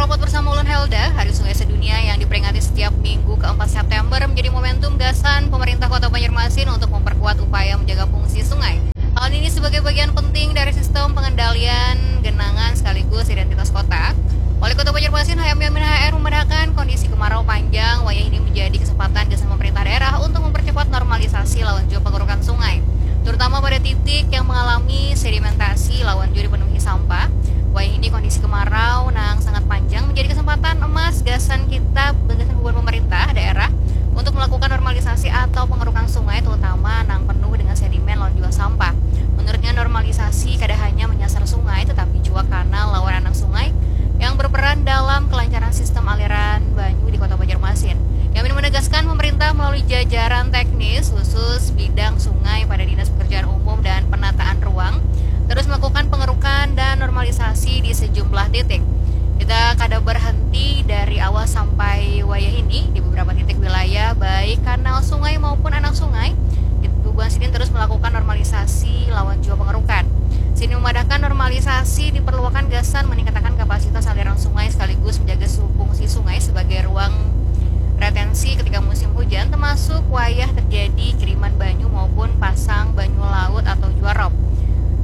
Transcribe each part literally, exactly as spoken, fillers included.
Rapat bersama ulun Helda, Hari Sungai Sedunia yang diperingati setiap minggu keempat September menjadi momentum gasan pemerintah Kota Banjarmasin untuk memperkuat upaya menjaga fungsi sungai. Hal ini sebagai bagian penting dari sistem pengendalian genangan sekaligus identitas kota. Wali Kota Banjarmasin Hayam Yamin H R memadahakan kondisi kemarau panjang wayah ini menjadi kesempatan gasan pemerintah daerah untuk mempercepat normalisasi lawan jua pengerukan sungai, terutama pada titik yang mengalami sedimentasi lawan jua dipenuhi sampah. Wayah ini kondisi kemarau nang sangat panjang menjadi kesempatan emas gasan kita, gasan bubuhan pemerintah daerah untuk melakukan normalisasi atau pengerukan sungai, terutama nang penuh dengan sedimen lawan jua sampah. Menurutnya, normalisasi kada hanya menyasar sungai tetapi jua kanal lawan anak sungai yang berperan dalam kelancaran sistem aliran banyu di Kota Banjarmasin. Yamin menegaskan, pemerintah melalui jajaran teknis khusus bidang sungai pada Dinas Pekerjaan Umum dan Penataan Ruang terus melakukan pengerukan dan normalisasi di sejumlah titik. Kita kada berhenti dari awal sampai wayah ini di beberapa titik wilayah, baik kanal sungai maupun anak sungai. Bubuhan sidin terus melakukan normalisasi lawan jua pengerukan. Sidin memadahkan, normalisasi diperluakan gasan meningkatakan kapasitas aliran sungai sekaligus menjaga su-, fungsi sungai sebagai ruang retensi ketika musim hujan, termasuk wayah terjadi kiriman banyu maupun pasang banyu laut atau jua rop.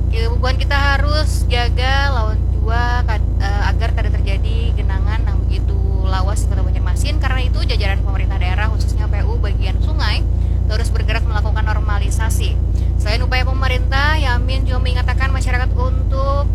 Bubuhan kita harus jaga lawan jua kad-, eh, agar kada terjadi genangan nang begitu lawas di Kota Banjarmasin. Karena itu, jajaran pemerintah daerah, khususnya P U bagian sungai, terus bergerak melakukan normalisasi. Selain upaya pemerintah, Yamin juga mengatakan masyarakat untuk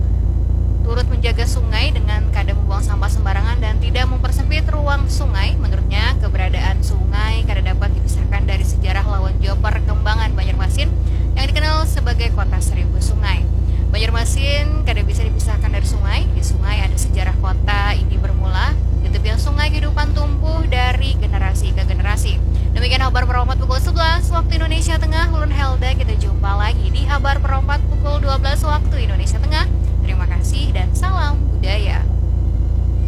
turut menjaga sungai dengan kada membuang sampah sembarangan dan tidak mempersempit ruang sungai. Menurutnya, keberadaan sungai kada dapat dipisahkan dari sejarah lawan jua perkembangan Banjarmasin yang dikenal sebagai kota seribu sungai. Banjarmasin kada bisa dipisahkan dari sungai. Di sungai ada sejarah kota ini bermula. Di tepian sungai kehidupan tumbuh dari generasi ke generasi. Demikian Habar Perompat pukul sebelas waktu Indonesia Tengah. Ulun Helda, kita jumpa lagi di Habar Perompat pukul dua belas